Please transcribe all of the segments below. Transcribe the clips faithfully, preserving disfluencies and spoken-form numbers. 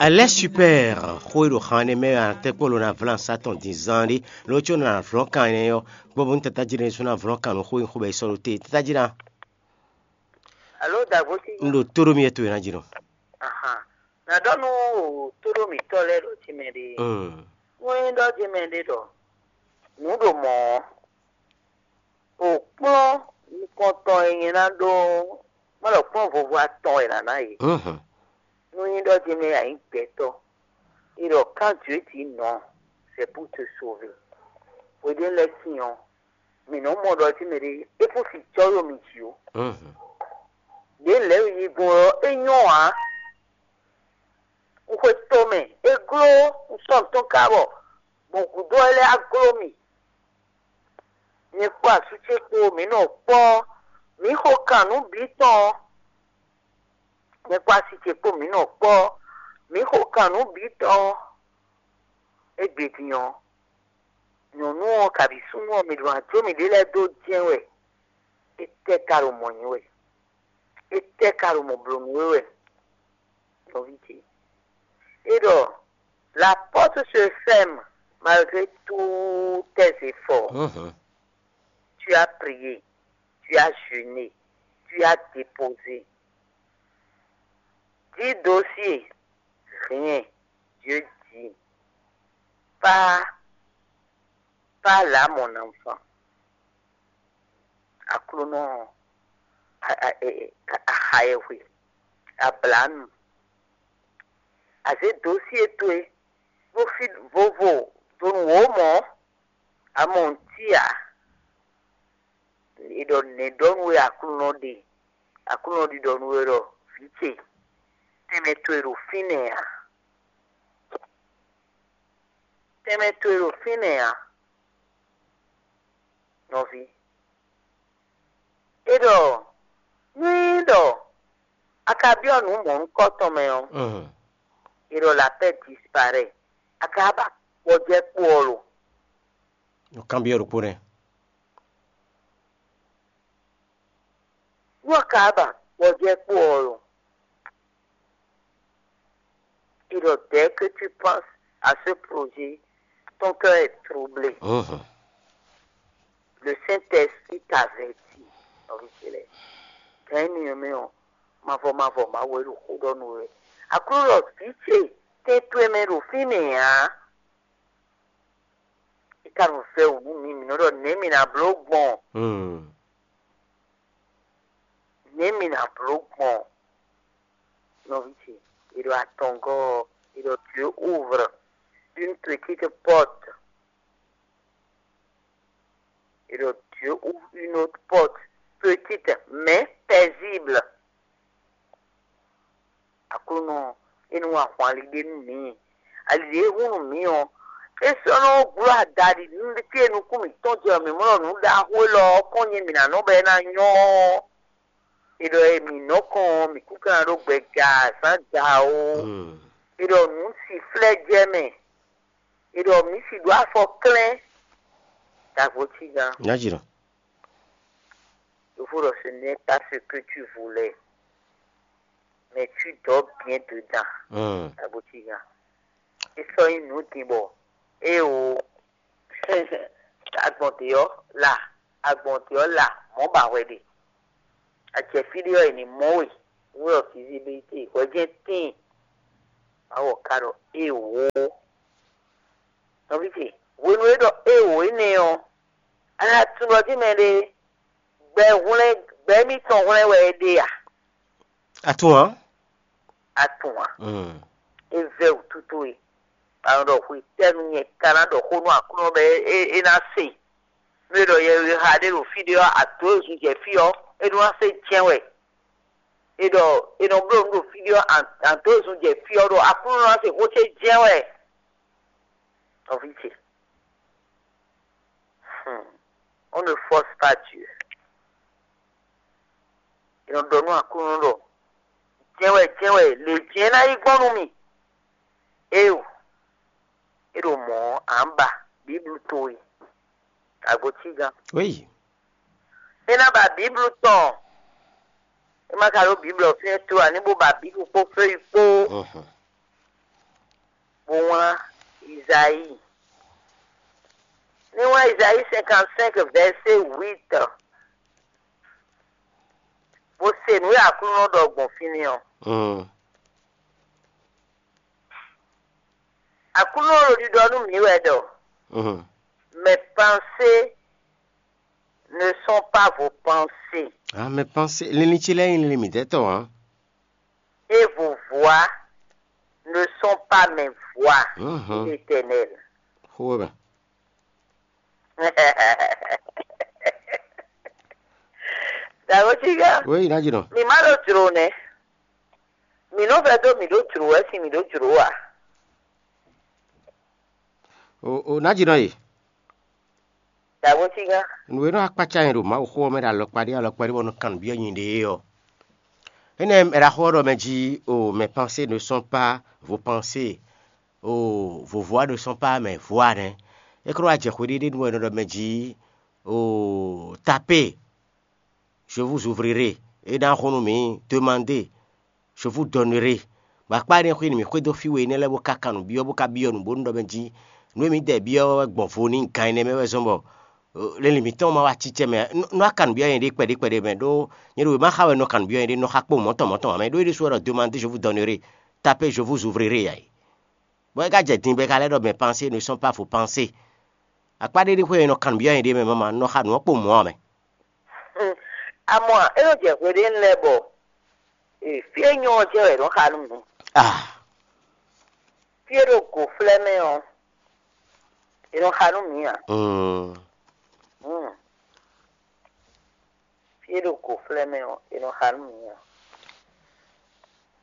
Alɛ super xó e ɖo xan énɛ́ mɛ ɔ́, a nɔ tɛ́nkpɔ́n ɖó ná vlan sa tɔn din zán ɖé, lo có nɔ ná vlɔ́n kan énɛ́ ɔ́, gbɔ bónú tatájí ɖé sú ná vlɔ́n kan nú xó e xó bɔ è sɔ́ ɖó te. Tatájí ná, Alo dagbosi. Un ɖo tó ɖó mi wɛ towe ná jí nɔ. Ahan. Na ɖɔ nú tóɖó mǐtɔn lɛ́ɛ ɖo jimɛ ɖe. Mm. Wɛn ɖɔ jimɛ ɖe ɖɔ nǔ ɖo mɔ̌ ɔ́, o kplɔ́n nukɔntɔn e nyɛ ná ɖó má ɖɔ kplɔ́n vovo atɔn wɛ nǎ ná yě. Mhm. Nú nyí ɖɔ jimɛ a nyǐ gbɛtɔ́, e ɖɔ quand Dieu dit non, c'est pour te sauver. Hweɖé lɛ́ɛ sin ɔ́, mǐ nɔ́ mɔ ɖɔ jí mɛɖé é kún si jɔ́ ɖo mǐ jí ó. Mhm. Ɖě lɛ̌ yi gbɔn ɔ́, é nyɔ́ ǎ. Un xwe to mɛ, é gló, un sɔ́ nǔ tɔn ká bɔ gbɔn gǔdo ɔ́ lɛ́ɛ á gló mì. Nyɛ kpó asú ce kpó mǐ nɔ kpɔ́, mǐ xo kan nǔ bǐ tɔn. Nyɛ kpó asi ce kpó mǐ nɔ kpɔ́, mǐ xo kan nǔ bǐ tɔn. Égbé din ɔ́, nyɔ̌nu ɔ́ kabǐ súnnu ɔ́, mǐ ɖo ná jó mǐɖée lɛ́ɛ dó jɛ́n wɛ. Étɛ́ ka ɖo mɔ̌ nyí wɛ? Étɛ́ ka ɖo mɔ̌ bló nú we wɛ? Nɔví ce, é ɖɔ: la porte se ferme malgré tous tes efforts. Mhm. Tu as prié, tu as jeûné, tu as déposé dix dossiers, rien. Dieu dit: pas, pas là, mon enfant. Aklúnɔ, a- a- e- e- a- axayɛhwe, ablǎnu, a zě dosyé towe ɖó fí vovo donu wǒ mɔ̌, a mɔ nǔtí ǎ. È ɖɔ nɛ̌ ɖɔ nú we Aklúnɔ ɖe? Aklúnɔ ɖiɖɔ nú we ɖɔ: vǐ ce, tɛnmɛ towe ɖo fínɛ́ ǎ. Tɛnmɛ towe ɖo fínɛ́ ǎ, nɔví. É ɖɔ nú é ɖɔ a ka byɔ́ nǔ mɔ̌hunkɔtɔn mɛ ɔ́, è ɖɔ la paix disparaît. A ka ba gbɔjɛ́ kpo ɔ́ lo? Nɔ kanbyɔ́ ɖokpó nɛ́. Nú a ka ba gbɔjɛ́ kpo ɔ́ lo? Et donc, dès que tu penses à ce projet, ton cœur est troublé. Mhm. Le Saint-Esprit t'avertit. Nɔví ce lɛ́ɛ, gǎn énɛ́ ɔ́ mɛ ɔ́, mavɔ mavɔ Mawu wɛ ɖo xó ɖɔ nú we. Aklúnɔ ɖɔ vǐ ce, tɛn towe mɛ ɖo fínɛ́ ǎ. É ka nɔ vɛ́ wǔ nú mǐ, mǐ nɔ ɖɔ nɛ̌ mǐ ná bló gbɔn? Hmm. Nɛ̌ mǐ ná bló gbɔn? Nɔví ce, è ɖo atɔngɔ́ ɔ́, è ɖɔ Dieu ouvre une petite porte. Et donc, Dieu ouvre une autre porte, petite, mais paisible. Aklúnɔ, é nú ahwan ali ɖé nú mǐ. Ali ɖě e hun nú mǐ ɔ́, é sɔ́ nɔ glɔ́ adaɖi nú fí e nukún mǐtɔn jɛ ɔ́, mǐ mɔ ɖɔ nǔ ɖaxó élɔ́ ɔ́ kɔn nyɛ mǐ ná nɔ bɔ é ná nyɔ́ ɔ́. È ɖɔ e mǐ nɔ kɔn ɔ́, mǐ kún ka ná ɖó gbɛ ja azǎn ja ó. Hmm. È ɖɔ nǔ si flɛ́ jɛ mɛ. È ɖɔ mǐ si ɖó afɔ klɛ́n. Dagbo cí gán. Nya jǐ nɔ. Yovo ɖɔ ce n'est pas ce que tu voulais, mais tu dors bien dedans. Hmm. Dagbo cí gán. É sɔ́ nyí nǔ din bɔ éewo agbɔn dě ɔ́ la, agbɔn dě ɔ́ la mɔ̌ ba hwɛ ɖe. Acɛfí ɖé ɔ́, è nǐ mɔ we, wú ɖɔ visibilité hwɛ jɛ́n tíin. Mawɔ ka ɖɔ éewo. Nɔví ce, hwenu e ɖɔ éewo énɛ́ ɔ́, a nǎ tunwun ɖɔ jí mɛɖé gbɛ hwlɛ́n, gbɛ émítɔn hwlɛ́n wɛ é ɖe a? A tunwun ǎ. A tunwun ǎ. Mm. É vɛ́ wǔtu towe. A nɔ ɖɔ hwetɛ́nu nyɛ ka ná ɖɔ xó nú Aklúnɔ bɔ é, é, é ná se. Nú é ɖɔ yɛhweha ɖé ɖo fí ɖé ɔ́, a dǒ e zun jɛ fí ɔ́, é ɖó ná se jɛ́n wɛ. É ɖɔ è nɔ bló nǔ ɖo fí ɖé ɔ́, a dǒ e zun jɛ fí ɔ́ ɖo Aklúnɔ ná se xó ce jɛ́n wɛ. Nɔví ce, hmm, on ne force pas Dieu. È nɔ ɖɔ nú Aklúnɔ ɖɔ: jɛ́n wɛ, jɛ́n wɛ, lě jɛ́n ná yi gbɔn nú mì. Éeǒ, é ɖo mɔ̌ ɔ́, a nǎ ba Bǐblu towe. Agbo cí gán. Oui. É ná ba Bǐblu tɔn. É má ka ɖó Bǐblu ɔ́ fínɛ́ tló ǎ, ní bó ba Bǐblu kpó fɛ́yí kpó. Mhm. kplɔ́n Izayi. Ní wá Izayi cinquante-cinq verset huit, bó se nǔ e Aklúnɔ ɖɔ gbɔn fínɛ́ ɔ́. Mm. Aklúnɔ ɖo ɖiɖɔ nú mǐ wɛ ɖɔ: Mm. Mes pensées ne sont pas vos pensées, Ah, mes pensées, linlin ce lɛ́ɛ nyí linlin mǐtɛ́ tɔn ǎ. Et vos voix ne sont pas mes voix, Mhm. Dit l'Éternel. Xó wɛ mɛ. Dǎgotígá, Wéyi, ná jínɔ. Mǐ má ɖó jlǒ nɛ́. Mǐ nɔ vɛdó mǐ ɖó jlǒ wɛ sín mǐ ɖó jlǒ ǎ. O, o, ná jínɔ e. Dǎgotígá. Nǔ e nɔ akpácá nyi ɖo Mawuxó ɔ́ mɛ ɖo alɔkpa ɖé alɔkpa ɖé bɔ nɔ kan nǔ byɔ́ nyɛ ɖe é ɔ́. Énɛ́ è ɖo axó ɔ́ ɖɔ mɛ jí: o, mes pensées ne sont pas vos pensées, o, vos voix ne sont pas mes voix nɛ́. É ko wá jɛ xwe ɖé ɖé nú wɛ è nɔ ɖɔ mɛ jí: o, tapez, je vous ouvrirai. É ná xo nú mǐ: demandez, je vous donnerai. Bɔ akpá énɛ́ xwé nú mǐ xwedó fí we énɛ́ lɛ́ɛ bó ka kan nǔ byɔ́, bó ka byɔ́ nǔ bónú ɖɔ mɛ jí: nǔ e mǐdɛɛ byɔ́ wɛ gbɔn vo n'i gan ɛnɛ mɛ wɛ zɔ́n bɔ lɛ́nlin mǐtɔn ma wá cícɛ mɛ. Nɔ kan nǔ byɔ́ nyɛ ɖé kpɛɖé kpɛɖé mɛ, ɖó nyɛ ɖo wěma xa wɛ nɔ kan nǔ byɔ́ nyɛ ɖé, nɔ xa kpó mɔ̌ tɔn mɔ̌ tɔn ǎ mɛ, ɖó é ɖésú wɛ ɖɔ: demandez, je vous donnerai, tapez, je vous ouvrirai ǎ é. Bɔ é ka jɛ din bɔ é ka lɛ́ ɖɔ: mes pensées ne sont pas vos pensées. Akpá ɖé ɖé xwé e nɔ kan nǔ byɔ́ nyɛ ɖé mɛ, mama, nɔ xa nǔ ɔ́ kpó mɔ̌ ǎ mɛ. Amɔ é nɔ jɛ hwe ɖé lɛ́ɛ bɔ fí e nyɔ́ ɔ́ jɛ wɛ è nɔ xa nú mǐ. Ah. Fí e ɖo gǒflɛ́ mɛ ɔ́, è nɔ xa nú mǐ ǎ. Mm. Mm. Fí e ɖo gǒflɛ́ mɛ ɔ́, è nɔ xa nú mǐ ǎ.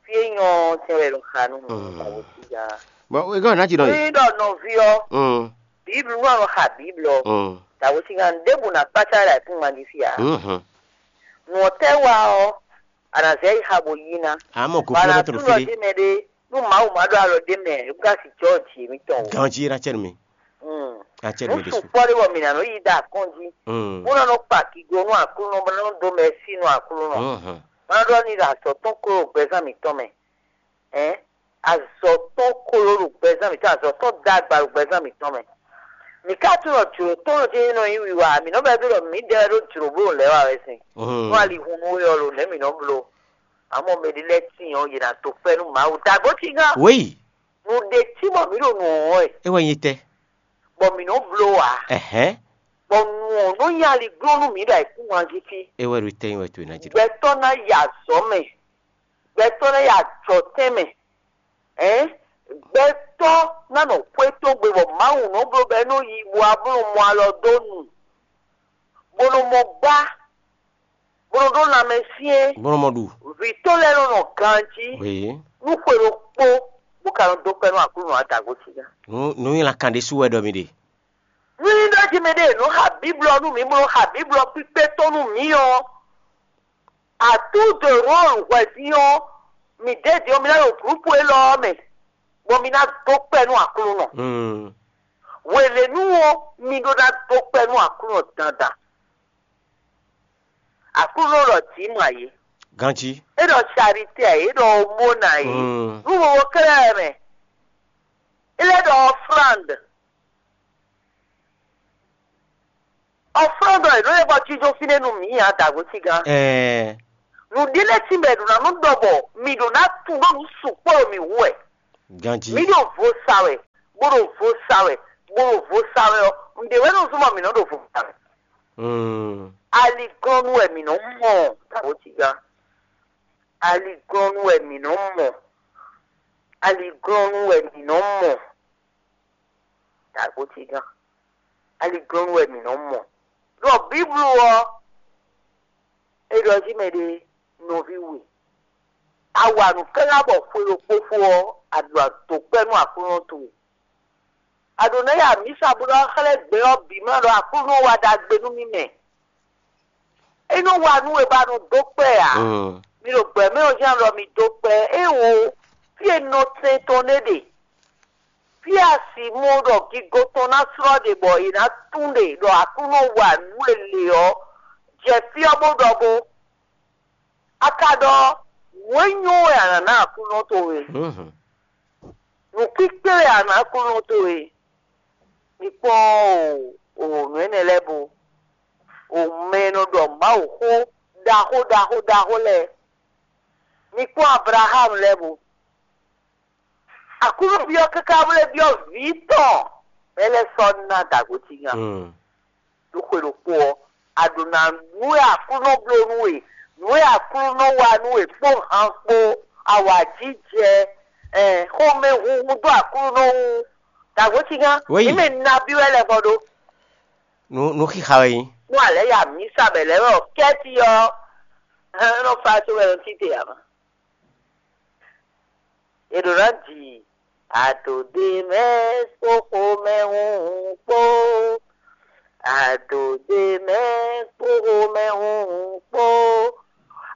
Fí e nyɔ́ ɔ́ jɛ wɛ è nɔ xa nú mǐ. Mm. Awo sí gán. Bɔ é gɔ́ ná jínɔ e. Ní ɖɔ nɔví ɔ́, Mm. Bíblu nú ɔ́ nɔ xa Bíblu ɔ́, Mm. Dǎwe sín gán ɖěbǔ ná kpácá ɖo ayǐkúngban jí fí ǎ. Mhm. Nǔ ɔ́ tɛ́ wa ɔ́, a nǎ zɛ yi xa bó yí ná. Amɔ Bɔ a gǒflɛ́ nǎ bɛ tló tunɔ fí ɖé. Ɖ'é mɛ ɖé, nú Mawu má ɖo alɔ ɖ'é mɛ, é bú ká sixú jǐ émítɔn o. Ganjí ná cɛ nú mi. Mm. Ná cɛ nú Nǔ mi ɖésú. Sukpɔ́ ɖé bɔ mǐ ná nɔ yi ɖo akɔ́njí, Mm. bó ná nɔ kpa kigo nú Aklúnɔ, bó ná nɔ dó mɛ sí nú Aklúnɔ. Mhm. Má nɔ ɖɔ ní ɖo azɔ̌ tɔn kó ɖo gbɛzán mǐtɔn mɛ. Ɛ̌n, azɔ̌ tɔn kó ɖo ɖo gbɛzán mǐtɔn, azɔ̌ tɔn dó agba ɖo gbɛzán mǐtɔn mɛ. Mǐ ka tunɔ jlǒ tɔn ɔ́ jɛ́n nɔ nyí wiwa, mǐ nɔ vɛ́ ɖɔ mǐdɛɛ wɛ ɖó jlǒ bó ɖo lɛ̌ wa wɛ sín. Mhm. Nú ali hun nú we ɔ́, ɖo nɛ̌ mǐ nɔ bló? Amɔ mɛ ɖé lɛ́ɛ tíin ɔ́, yě ná dó kpɛ́ nú Mawu. Dǎgó cígán. Wéyi. Nǔ ɖé cí bɔ mǐ ɖo nǔ wɔn wɛ, É wɛ nyí tɛ. Bɔ mǐ nɔ bló ǎ. Ɛhɛn. Bɔ nǔ ɔ́ nɔ nyí aligbó nú mǐ ɖo ayǐkúngban jí fí. É wɛ ɖo tɛ́nyin wɛ towe ná jló. Gbɛtɔ́ ná yi azɔ̌ mɛ. Gbɛtɔ́ ná yi ajɔtɛn mɛ. Ɛ̌n? Gbɛtɔ́ ná nɔ xwé tɔn gbe bɔ Mawu nɔ bló bɔ é nɔ yi bo wá bó nɔ mɔ alɔ dó nu, bó nɔ mɔ gbá, bó nɔ ɖó lanmɛ syɛ́n. Bó nɔ mɔ ɖu. Vǐ tɔn lɛ́ɛ nɔ nɔ ganjí. Wěyi. Nú xwe ɖokpó, bó ka nɔ dó kpɛ́ nú Aklúnɔ Adǎgotín ná. Nǔ nǔ nyi lan kan ɖésú wɛ ɖɔ mi ɖe. Nú ní ɖɔ jí mɛɖé e nǔ xa Bíblɔ nú mǐ, bó nɔ xa Bíblɔ kpíkpé tɔn nú mǐ ɔ́, atú de rôlu hwɛ̌dín ɔ́, mǐ ɖědín ɔ́, mi ná ɖo glǔpu élɔ́ ɔ́ mɛ, bɔ mi ná dó kpɛ́ nú Aklúnɔ. Mm. Hwenɛ́nu ɔ́, mi ɖó ná dó kpɛ́ nú Aklúnɔ dandan. Aklúnɔ ɖɔ jǐ mɔ ayǐ. Ganjí. É ɖɔ charité ayǐ, é ɖɔ omóna ayǐ. Mm. Nú wowo kɛ́ɖɛ́ mɛ. É lɛ́ ɖɔ offrande. Offrande ɔ́, è nɔ lɛ́ gbɔ jínjɔ́n fínɛ́ nú mǐ ǎ, dǎgosígán. Ɛɛ. Nǔɖé lɛ́ɛ tínbɔ è ɖǒ ná nú ɖɔ bɔ mi ɖǒ ná tunwun ɖó nǔ sukpɔ́ ɖo mǐ wú wɛ. Ganjí. Mǐ ɖo vo sa wɛ, bó ɖo vo sa wɛ, bó ɖo vo sa wɛ ɔ́, nǔɖé wɛ nɔ zɔ́n bɔ mǐ nɔ ɖo vo sa wɛ. Mm. Aliglɔ́nú wɛ mǐ nɔ mɔ, dǎgosígán. Aliglɔ́nú wɛ mǐ nɔ mɔ. Aliglɔ́nú wɛ mǐ nɔ mɔ. Dǎgosígán. Aliglɔ́nú wɛ mǐ nɔ mɔ. Ɖɔ Bíblu ɔ́, é ɖɔ jí mɛ ɖé nɔví we. A wa nǔ káká bɔ xwe ɖokpó fó ɔ́, a ɖo adǒ kpɛ́ nú Aklúnɔ towe. A ɖǒ ná yi amǐsa bó ná xlɛ́ gbɛ ɔ́ bǐ mɛ ɖɔ Aklúnɔ wa ɖagbe nú mì mɛ. É nɔ wa nú we bɔ a nɔ dó kpɛ́ ǎ. Mm. Mi ɖo gbɛ̌mɛ ɔ́ jí a ɖɔ mi dó kpɛ́. Éewo, fí e nɔ sɛn tɔn ɖé ɖe. Fí e a si mɔ ɖɔ gigo tɔn ná slɔ́ ɖe bɔ è nǎ tún ɖe ɖɔ Aklúnɔ wa nǔ e lě ɔ́, jɛ fí ɔ́ bó ɖɔ bó. A ka ɖɔ nǔ e nyɔ́ wɛ a nǎ ná Aklúnɔ towe. Mhm. Nǔkpíkpé wɛ a nǎ Aklúnɔ towe. Mi kpɔ́n o, o nǔ énɛ́ lɛ́ɛ bo, o mɛ e nɔ ɖɔ Mawuxó ɖaxó ɖaxó ɖaxó lɛ́ɛ. Mi kpɔ́n Ablaxámu lɛ́ɛ bo. Aklúnɔ byɔ́ káká bó lɛ́ byɔ́ vǐ tɔn, mɛ lɛ́ɛ sɔ́ ná dǎgbó cí nya. Ɖo xwe ɖokpó ɔ́, a ɖo ná nǔ e Aklúnɔ bló nú we, nǔ e Aklúnɔ wa nú we kpó han kpó, awǎjijɛ, xomɛhunhun dó Aklúnɔ wú. Dǎgbó cí nya. Ní mɛ nabí wɛ lɛ́ vɔ ɖó. Nǔ nǔ xixa wɛ nyí. Nú alɛ̌ ya mǐ sa bɛ̌ lɛ́ɛ wɛ ɔ́, kɛ́ti ɔ́, é nɔ fa so wɛ nɔ títè ǎ. È ɖǒ ná ji adǒɖemɛ kpó xomɛhunhun kpó, adǒɖemɛ kpó xomɛhunhun kpó,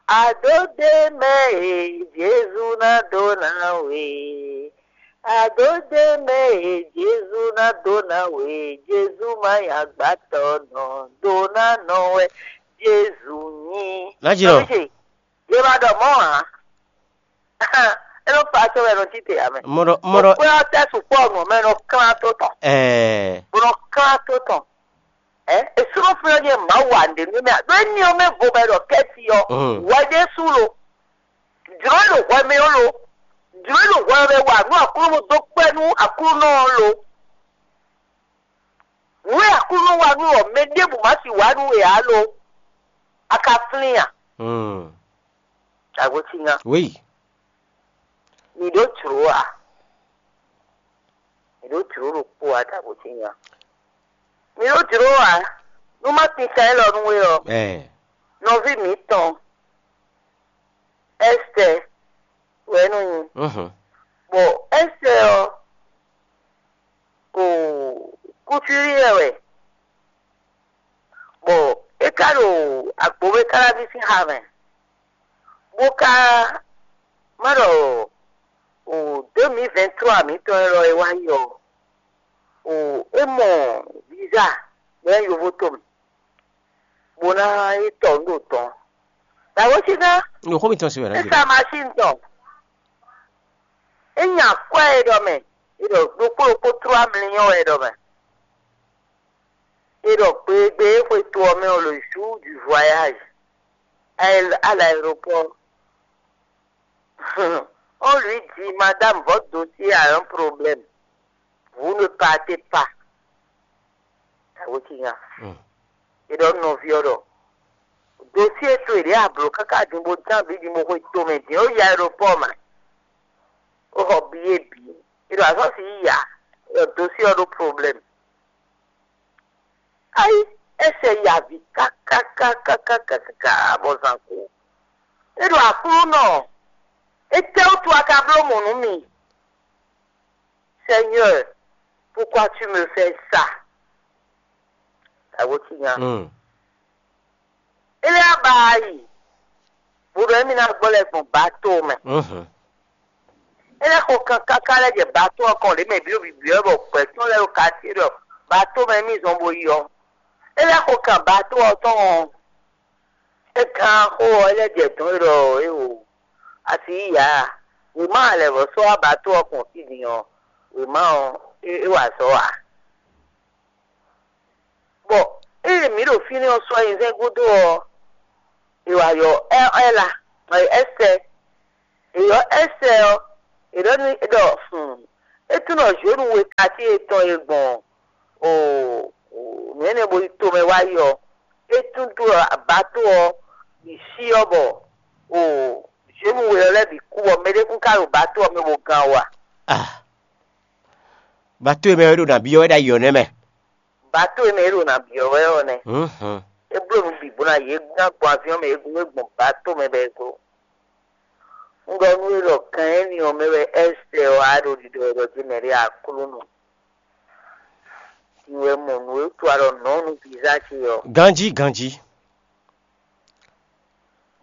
adǒɖemɛ e Jezu ná dó ná we, adǒɖemɛ e Jezu ná dó ná we, Jezu má nyí agbatɔ́ nɔ dó ná nɔ wɛ Jezu nyí. Nǎjínɔ. Yě ma ɖɔ mɔ̌ ǎ. É nɔ kpa acɔ́ wɛ nɔ títè ǎ mɛ. Mɔ ɖɔ mɔ ɖɔ. Kpé ɔ́ tɛ́ sukpɔ́ nǔ mɛ nɔ klán tó tɔn. Ɛɛ. Bó nɔ klán tó tɔn. Ɛ esúnɔ fúnra nyɛ Mawu wa nɖe nú mɛ. Ɖó éní ɔ́ mɛ vo bɛ ɖɔ kɛ́ti ɔ́. Mm. Hwɛ ɖésú lo. Jló ɖo hwɛ mɛ ɔ́ lo. Jló ɖo hwɛ mɛ wa nú Aklúnɔ dó kpɛ́ nú Aklúnɔ ɔ́ lo. Nǔ e Aklúnɔ wa nú ɔ́, mɛ ɖěbǔ má sì wa nú we ǎ lo. A ka flín a? Mm. Dǎgbó cí nya. Oui. Mi ɖó jlǒ a? Mi ɖó jlǒ ɖokpó a dǎgbó cí nya? Mi ɖó jlǒ a? Nú má kpin kan élɔ́ nú we ɔ́, eh. Nɔví mǐtɔn Ɛstɛ wɛ é nɔ nyí. Mhm. Bɔ Ɛstɛ ɔ́, o kútúlí wɛ wɛ. Bɔ é ka ɖo agbǒmɛ káláví sín xa mɛ, bó ka má ɖɔ o deux mille vingt-trois mǐtɔn élɔ́ e wá yi ɔ́, o é mɔ visa bɔ é nyí yovótomɛ, bó ná yi tɔ nǔ ɖo tɔn. Dǎwe sígá. Nǔxó mitɔn se wɛ é sa machine tɔn. É nya kwɛ́ e ɖɔ mɛ, é ɖɔ ɖokpó ɖokpó trois millions wɛ é ɖɔ mɛ. É ɖɔ gbégbé é xwe to ɔ́ mɛ ɔ́, le jour du voyage à l'aéroport. On lui dit, madame, votre dossier a un problème. Vous ne partez pas. Dǎwe cí nya. Mm. É ɖɔ nɔví ɔ́ ɖɔ dossier towe ɖě a blǒ káká din bó dán bǐ din bó xwe tomɛ din ó yi aéroport mɛ. Ó xɔ billet bǐ. É ɖɔ azɔ̌ si yí ya, é ɖɔ dossier ɔ́ ɖó problème. Ayi, é sɛ yi avǐ kákákákákáká bɔ zǎn kú. É ɖɔ Aklúnɔ, étɛ́wútu a ka bló mɔ̌ nú mì? Seigneur, pourquoi tu me fais ça? Dǎwe cí nya. Mm. É lɛ́ ba yi, bó ɖɔ émí ná gbɔ lɛ́ gbɔn bato mɛ. Mhm. É lɛ́ xo kan káká lɛ́ jɛ bato ɔ́ kɔn ɖě mɛ bǐ ɖo bǐbí ɔ́ bɔ gbɛ̌ tɔn lɛ́ ɖo katíe ɖɔ bato mɛ émí zɔn bo yi ɔ́. É lɛ́ xo kan bato ɔ́ tɔn ɔ́, é gán xó ɔ́, é lɛ́ jɛ dɔ̌n é ɖɔ éwo asi yí ǎ. Wěma lɛ̌ vɔ́ sɔ́ wá bato ɔ́ kɔn fí din ɔ́, wěma ɔ́, é é wa azɔ̌ ǎ. Bɔ ée mǐ ɖo fínɛ́ ɔ́ sɔ́ nyi zɛ́n gúdo ɔ́, è wǎ ylɔ́ Ɛ́la, Ɛ́sɛ. È ylɔ́ Ɛ́sɛ ɔ́, è ɖɔ n'i ɖɔ hun, é tunwun ɖɔ Zhonu we katíe tɔn e gbɔn o nǔ énɛ́ bo yi tomɛ wá yi ɔ́, é tunwun ɖɔ bato ɔ́ bǐ cí ɔ́ bɔ o Zhonu we ɔ́ lɛ́ɛ bǐ kú bɔ mɛɖé kún ka ɖo bato ɔ́ mɛ bo gán o a? Ah. Bato e mɛ é ɖo nǎ byɔ́ wɛ ɖ'ayǐ ɔ́ nɛ́ mɛ. Bato e mɛ é ɖo nǎ byɔ́ wɛ ɔ́ nɛ́. Mhm. É bló nǔ bǐ bó ná yě ná gbɔn aviɔ́n mɛ, é gbɔn bato mɛ bɔ é glo. Un ɖɔ nú we ɖɔ gan énɛ́ ɔ́ mɛ wɛ Ɛ́sɛ ɔ́ á ɖo ɖiɖɔ wɛ ɖɔ jí mɛ ɖé Aklúnɔ. Din wɛ mɔ nǔ e wútu a ɖɔ nɔ̌ nú vǐzá ce ɔ́. Ganjí, ganjí.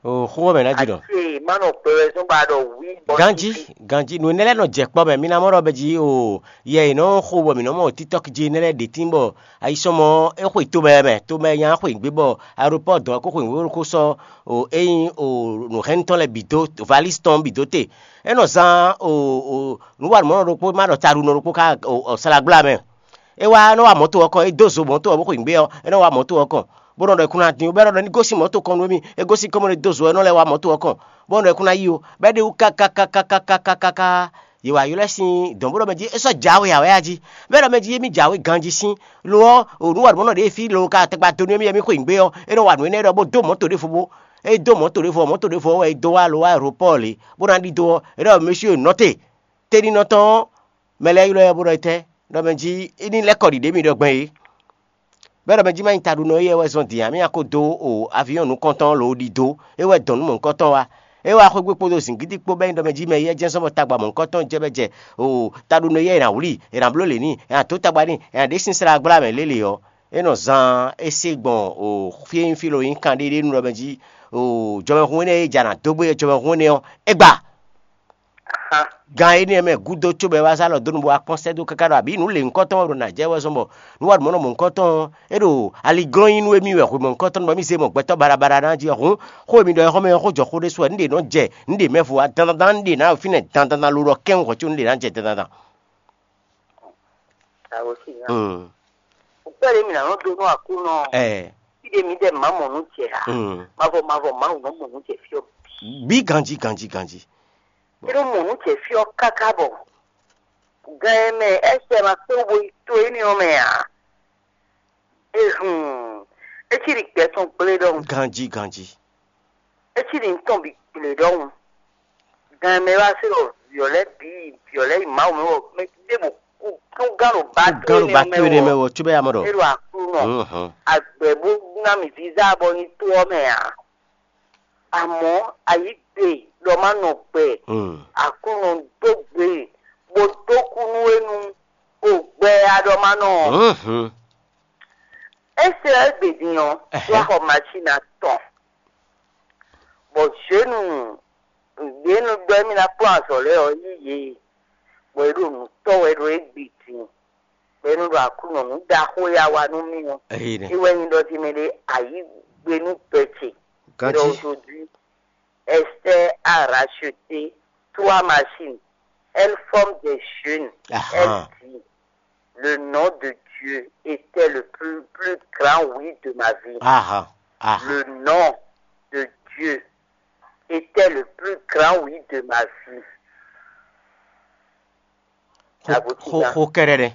O xó wɛ mɛ ná jí ɖɔ. Ati ma nɔ gbɛ wɛ zɔn ba ɖɔ wí bɔ. Ganjí, ganjí. Nǔ énɛ́ lɛ́ɛ nɔ jɛ kpɔ́ mɛ. Mi ná mɔ ɖɔ bɛ jí o yɛ è nɔ xo bɔ mǐ nɔ mɔ TikTok jí énɛ́ lɛ́ɛ ɖě tín bɔ ayisɔmɔ é xwe tomɛ mɛ, tomɛ nya xwe gbé bɔ aeropɔ́ dɔn ɛ kó xwe nǔ ko sɔ́ o é nyí o nǔhɛntɔ́ lɛ́ɛ bǐ dó, valísi tɔn bǐ dó te. É nɔ zán o o Nǔwanumɔnɔ ɖokpó ma ɖɔ taɖunɔ ɖokpó ká slagbla mɛ. É wá nɔ wa mɔ̌to ɔ́ kɔn, é dó zo mɔ̌to ɔ́ bó xweyǐgbe ɔ́, é nɔ wa mɔ̌to ɔ́ kɔn, bó nɔ ɖɔ è kún ná dín, bó bɛ́ ɖɔ ní gosín mɔ̌to kɔn nú émí, é gosín kɔn bó nɔ dó zo ɔ́, é nɔ lɛ́ wa mɔ̌to ɔ́ kɔn, bó nɔ ɖɔ è kún ná yí o, bɔ é ɖe wú kákákákákákáká. Yě wá ylɔ́ ɛ sín dɔ̌n bó ɖɔ mɛ jí é sɔ́ jǎwe ǎ wɛ a jí. Bɔ é ɖɔ mɛ jí émí jǎwe ganjí sín. Lo ɔ́, o nǔwanumɔnɔ ɖě e fí lo ka tɛgbɛ dó nú émí wɛ mí xweyǐgbe ɔ́, é nɔ wa nǔ énɛ́ ɖɔ bó dó mɔ̌to ɖěvo bó. É dó mɔ̌to ɖěvo ɔ́, mɔ̌to ɖěvo ɔ́ wɛ é dó wá lo wá aeropɔ́ɔ lě, bó ná ɖidó ɔ́, é ɖɔ mɛsíɔ nɔte, teɖinɔ tɔn ɔ́, mɛ lɛ́ɛ ylɔ́ ɛ bó ɖɔ étɛ́, ɖɔ mɛ jí é ní lɛ́ kɔ ɖiɖě mi ɖɔ gbɛn é. Bɔ é ɖɔ mɛ jí má nyí taɖunɔ éyɛ́ wɛ zɔ́n din ǎ, mì nya ko dó o avyɔ́n nukɔntɔn lǒ ɖidó, é wɛ dɔn nú mɔ̌hunkɔtɔn wá. É wá xwé gbe kpódó zǐngídi kpó bɔ é nyí ɖɔ mɛ jí mɛ éyɛ́ jɛ́n zɔ́n bɔ tagba mɔ̌hunkɔtɔn jɛ bɔ jɛ o taɖunɔ éyɛ́ è nǎ wlí, è nǎ bló lě n'i, è nǎ dó tagba n'i, è nǎ ɖe sín slá gbla mɛ lélě ɔ́, é nɔ zaan é se gbɔn o fí e nyí fí lo nyí kanɖéɖénu ɖɔ mɛ jí o jɔmɛhún énɛ́ e jǎ ná dó gbé jɔmɛhún énɛ́ ɔ́, é gba. Gan énɛ́ mɛ gúdo cóbɔ é wá zán alɔ dó nu bó wá kpɔ́n sɛ́ dó káká ɖɔ abǐ nǔ lě nyǐkɔtɔn wɛ ɖo nǎ jɛ wɛ zɔ́n bɔ nǔ wa ɖu mɔ̌ nɔ mɔ̌hunkɔtɔn ɔ́, é ɖo aliglɔ́n nyi nú émí wɛ hwe mɔ̌hunkɔtɔn bɔ émí zé mɔ gbɛtɔ́ baɖabaɖa ná jí ɔ́ hǔn, xó e mi ɖɔ é xɔ́mɛ ɔ́ xó jɔ xó ɖésú wɛ nǔ ɖě nɔ jɛ nǔ ɖě mɛ vo wá dandandan nǔ ɖě ná ɖo fínɛ́ dandandan lo ɖɔ kɛ́n hwɛ̌ có nǔ ɖě ná jɛ dandandan. Kpɛɖé mi ná nɔ dó nú Aklúnɔ. Ɛɛ. Fí ɖé mi ɖɛ má mɔ nǔ jɛ ǎ. Mm. Mavɔ mavɔ Mawu nɔ mɔ nǔ jɛ fí ɔ́. Bí ganjí ganjí ganjí. É nɔ mɔ nǔ jɛ fí ɔ́ káká bɔ gan e mɛ ɛsɛ ma kpé bo yi to énɛ́ ɔ́ mɛ ǎ. Ehun, é cí ɖi gbɛ tɔn gblé ɖɔhun. Ganjí ganjí. É cí ɖi nǔ tɔn bǐ gblé ɖɔhun. Gan e mɛ wá se ɖɔ vǐ ɔ́ lɛ́ɛ bǐ vǐ ɔ́ lɛ́ɛ yi Mawu mɛ wɔ mɛ ɖěbǔ kú kú gán ɖo ba Kú gán ɖo ba to énɛ́ mɛ wɔ. Cóbɛ́ ya mɔ ɖɔ. É ɖo Aklúnɔ. Mhm. Agbɛ̌ bó ná mì vǐzá bɔ nyi to ɔ́ mɛ ǎ. Amɔ̌ ayǐ gbe ɖɔ má nɔ gbɛ. Mm. Aklúnɔ dó gbe bó dó kú nú énu o gbɛ a ɖɔ má nɔ. Mhm. É se ɔ́ égbé din ɔ́, Ɛhɛ̌. Wá xɔ masín atɔn, bɔ zěnu yě nu ɖɔ émí ná kplɔ́n azɔ̌ lɛ́ɛ ɔ́ yí yě, bɔ é ɖo nǔ tɔ́ wɛ ɖo égbé din, bɔ é nɔ ɖo Aklúnɔ nǔ ɖaxó ya wa nú mì ɔ́. Eyi nɛ. É wɛ nyí ɖɔ jí mɛ ɖé ayǐ gbe nú gbɛ ce. Ganjí. Aujourd'hui, Esther a racheté trois machines. Elle forme des jeunes. Ahan. Elle dit, le nom de Dieu était le plus, plus grand oui de ma vie. Ahan. Ahan. Le nom de Dieu était le plus grand oui de ma vie. Xó- Abotí xó- gan. Xó kɛ́ɖɛ́ ɖɛ.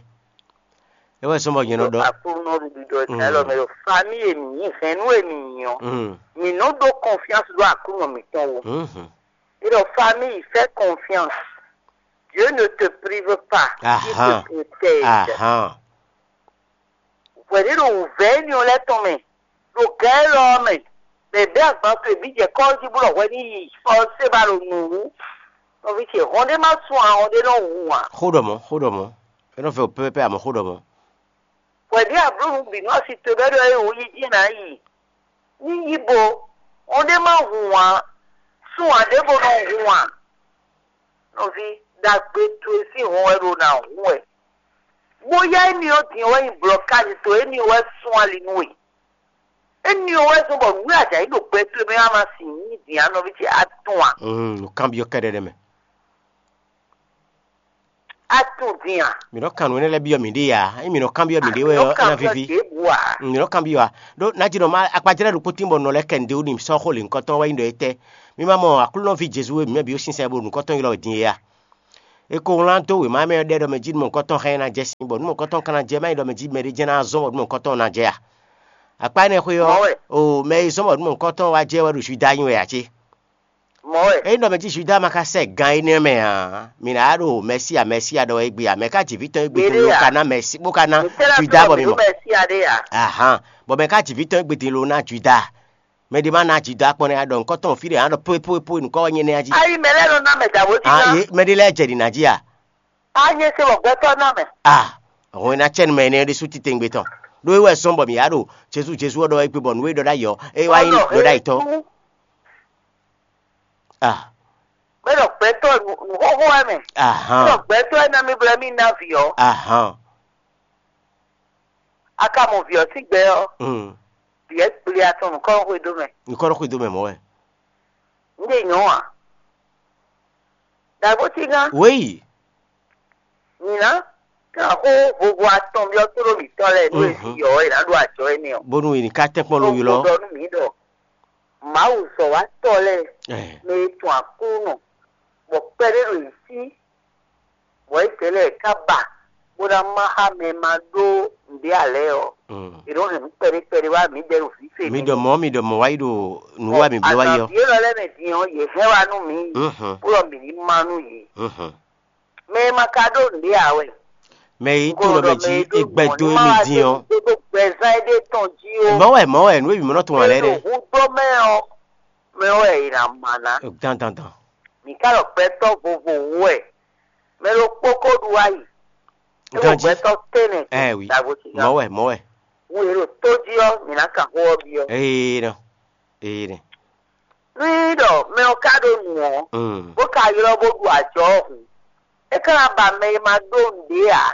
É wɛ sɔ́ bɔ nyɛ nɔ ɖɔ. Aklúnɔ ɖuɖu ɖɔ Mm. Israɛl mɛ ɖo famille e mǐ nyí, hɛ̌nnu e mǐ nyí ɔ́, Mm. mǐ nɔ ɖó confiance ɖó Aklúnɔ mǐtɔn wú. Mhm. É ɖɔ famille, fais confiance. Dieu ne te prive pas, il te Ahan. Protège. Ahan. Hwɛ̌ ɖé ɖo wǔvɛ́ énɛ́ ɔ́ lɛ́ɛ tɔn mɛ, ɖo gǎn élɔ́ ɔ́ mɛ, bɔ è bɛ́ agban towe bǐ jɛ kɔ́ ɔ́ jí bó ɖɔ hwɛ ní yi fɔ́sé ba ɖo nǔ wú. Nɔví ce, hɔn ɖé má sun ǎ, hɔn ɖé nɔ hun ǎ. Xó ɖɔ mɔ̌, xó ɖɔ mɔ̌. É nɔ vɛ wǔ pɛ́pɛ́pɛ́, amɔ̌ xó ɖɔ mɔ̌. Hwɛ̌ ɖé abló nǔ bǐ nú asi towe bɔ é ɖɔ é wǒ yi jí ná yi. Ní yí bo, hɔn ɖé má hun ǎ, sun ǎ ɖěvo nɔ hun ǎ. Nɔví, ɖagbe towe sín hɔn wɛ ɖo ná hun wɛ. Bóyá éní ɔ́ din ɔ́ wɛ nyí blɔ̌kázi towe, éní ɔ́ wɛ sún ali nú we. Éní ɔ́ wɛ zɔ́n bɔ nǔ e a jǎ yi ɖo gbɛ towe mɛ ɔ́, a ma sin nyí din ǎ, nɔví ce, a tunwun a? Mm, nǔkanbyɔ́ kɛ́ɖɛ́ ɖɛ mɛ. A tunwun din a? Mǐ nɔ kan nǔ énɛ́ lɛ́ɛ byɔ́ mǐɖée ǎ. Ényí mǐ nɔ kanbyɔ́ mǐɖée wɛ ɔ́, é ná víví. Ɖěbǔ ǎ. Mm, mǐ nɔ kanbyɔ́ ǎ. Ɖó ná jí nɔ má akpajlɛ́ ɖokpó tín bɔ nɔ lɛ́ɛ kɛ nǔɖé wú n'i sɔ́ xó lě nukɔntɔn wɛ nyí ɖɔ étɛ́. Mì ma mɔ Aklúnɔ ví Jezu e mǐ mɛ bǐ ó sínsɛ́n bó ɖo nǔkɔntɔn ylɔ́ wɛ din é a? È ko wlán dó wěma mɛ ɔ́ ɖɛ ɖɔ mɛ jí nú mɔ̌hunkɔtɔn hɛn ɛ ná jɛ sin, bɔ nú mɔ̌hunkɔtɔn ka ná jɛ, má nyí ɖɔ mɛ jí mɛɖé jɛ́n ná zɔ́n bɔ nú mɔ̌hunkɔtɔn ná jɛ a? Akpa énɛ́ xwé ɔ́, Mɔ̌ wɛ. O mɛ e zɔ́n bɔ nú mɔ̌hunkɔtɔn wá jɛ wɛ ɖo Juda nyi wɛ ǎ cé? Mɔ̌ wɛ. Ényí ɖɔ mɛ jí Juda ma ka sɛ gan énɛ́ mɛ ǎ, mǐ ná ɖo Mɛsíya Mɛsíya ɖɔ wɛ égbé ǎ. Mɛ ka ji vǐ tɔn égbé Mǐɖée bó ǎ. Ka ná Mɛsí bó ka ná Mǐ tɛ́ ná Juda tunwun bɔ mǐ mǐ ɖó mɔ. Mɛsíya ɖé ǎ. Ahan, bɔ mɛ ka ji vǐ tɔn égbé din lo ná Juda. Mɛ ɖé má ná Juda kpɔ́n nɛ́ a ɖɔ nǔkɔn tɔn fí ɖé a ɖɔ pó pó pó nǔkɔn wɛ nyɛ nɛ́ a jí. Ayi mɛ lɛ́ɛ nɔ ná mɛ dǎbó jí Ah, ná. Ye mɛ ɖé lɛ́ɛ jɛ ɖi ná jí a? A nyɛ se bɔ gbɛtɔ́ ná mɛ. Ah, hɔn ná cɛ nu mɛ énɛ́ ɖésú titewungbe tɔn. Ɖó é wɛ sɔ́n bɔ mǐ ya ɖo Jezu Jezu ɔ́ ɖɔ wɛ gbé bɔ nǔ e ɖɔ ɖ'ayǐ ɔ́, é wá nyí ɖɔ ɖ'ayǐ tɔn. Ah, Mɛ ɖɔ gbɛtɔ́ nǔ nǔ xóxó wɛ mɛ. Mɛ ɖɔ Ahan. Gbɛtɔ́ wɛ ná mi blɛ mì ná vǐ ɔ́. Ahan. A ka mɔ vǐ ɔ́ sín gbɛ ɔ́, Mm. Vǐ ɛ kplé atɔn nǔkɔn xwedó mɛ. Nǔkɔn xwedó mɛ mɔ̌ wɛ. Un ɖe nyɔ̌ ǎ. Dǎgbó cígán. Wéyi. Nyina, kan xó vovo atɔn byɔ́ tóɖó mǐtɔn lɛ́ɛ nú e ví yɔ̌ wɛ è nǎ ɖo ajɔ énɛ́ ɔ́. Bónú è ní ka tɛ́nkpɔ́n ló ylɔ́. Ɖɔ nú mǐ ɖɔ Mawu zɔ̌watɔ́ lɛ́ɛ mɛ e tunwun Aklúnɔ, bɔ kpɛɖé ɖo yě sí, bɔ é zɛ lɛ́ɛ ká ba, bó ná má xá mɛ e ma ɖó nǔɖé ǎ lɛ́ɛ ɔ́, è nɔ́ hɛn nǔ kpɛɖé kpɛɖé wá mǐdɛɛ ɖo vǐ ce. Mi ɖɔ mɔ̌, mi ɖɔ mɔ̌ wá yi ɖo nǔ wa mǐ bló wá yi ɔ́. Azǎn vǐ élɔ́ lɛ́ɛ mɛ din ɔ́, yě hɛn wá nú mǐ, bó ɖɔ mǐ ní má nú yě. Mɛ e ma ka ɖó nǔɖé ǎ wɛ. Mɛ e tunwun ɖɔ mɛ jí é gbɛ́ dó émí dín ɔ́. Gbɛzán éɖée tɔn jí ó. Mɔ̌ wɛ, mɔ̌ wɛ, nǔ e mǐ mɔ nɔ tunwun ǎ lɛ́ɛ ɖe. Hudó mɛ ɔ́, mɛ wɛ è nǎ ma ná. Dandandan. Mǐ ka ɖɔ gbɛtɔ́ vovo wú wɛ. Mɛ ɖokpó ko ɖu ayi. É ɖo Ganjí. Gbɛtɔ́ tɛnɛ. Ɛ wi. Mɔ̌ wɛ, mɔ̌ wɛ. Wú yě ɖo tó jí ɔ́, mǐ ná kan xó ɔ́ byɔ́. Ee nɔ. Ee nɔ. Nú nyí ɖɔ mɛ ɔ́ ka ɖó nǔ ɔ́, bó ka ylɔ́ bó ɖu ajɔ ɔ́ hǔn, é ka ná ba mɛ e ma ɖó nǔɖé ǎ,